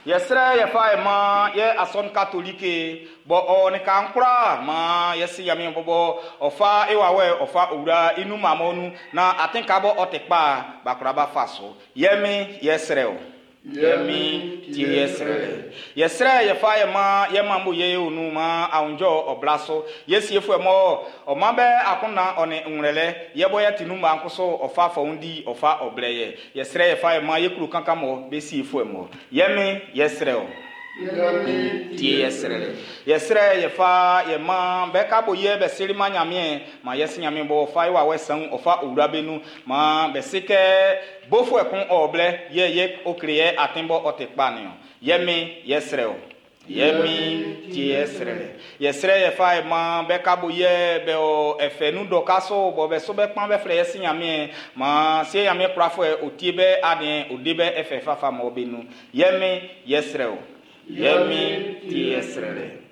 Yɛsrɛ yɛfa yɛ man yɛ asɔn katolike bɔ ɔ ne kan kura ma yɛsi Ɲanmiɛn bɔbɔ ɔ fa e wawɛ ɔ fa owura i nun mamɔ nu na atin ka bɔ ɔ tɛ kpa bakura ba fa so yɛ mi yɛsrɛ o. Yɛ mi tie yɛsrɛ yɛsrɛ yɛfa yɛ ma yɛ ma mo yɛ onu ma awunjɔ ɔbla so yɛsiefoɔ mɔ ɔma bɛ akonna ɔne nwrɛlɛ yɛbɔ yɛ tinu ma nkoso ɔfa fɔwundi ɔfa ɔblɛ yɛ yɛsrɛ yɛfa yɛ ma yɛkuro kankan mɔ bɛsiefoɔ mɔ yɛ mi yɛsrɛ o. Tie yɛsrɛ yɛsrɛ yɛfa yɛ ma bɛka bo yɛ bɛsiri ma Ɲanmiɛn ma yɛsi Ɲanmiɛn bɔ ɔfa ye wawɛ san ɔfa owura bɛ ma bɛsi kɛ bofuɛ kun ɔblɛ yɛ yɛ okre yɛ atin bɔ ɔtɛ kpa ni o yɛ mi yɛsrɛ o. Yɛ mi tie yɛsrɛ yɛsrɛ yɛfa yɛ ma bɛka bo yɛ bɛ o ɛfɛ nu dɔ ka so bɔ bɛ so bɛ kpan bɛ filɛ yɛsi Ɲanmiɛn ma se Ɲanmiɛn kurafuɛ o tie bɛ adiɛ o de bɛ ɛfɛ fafa mɔ bɛ nu yɛ mi yɛsrɛ o. Yɛ mi tie yɛsrɛ lɛ.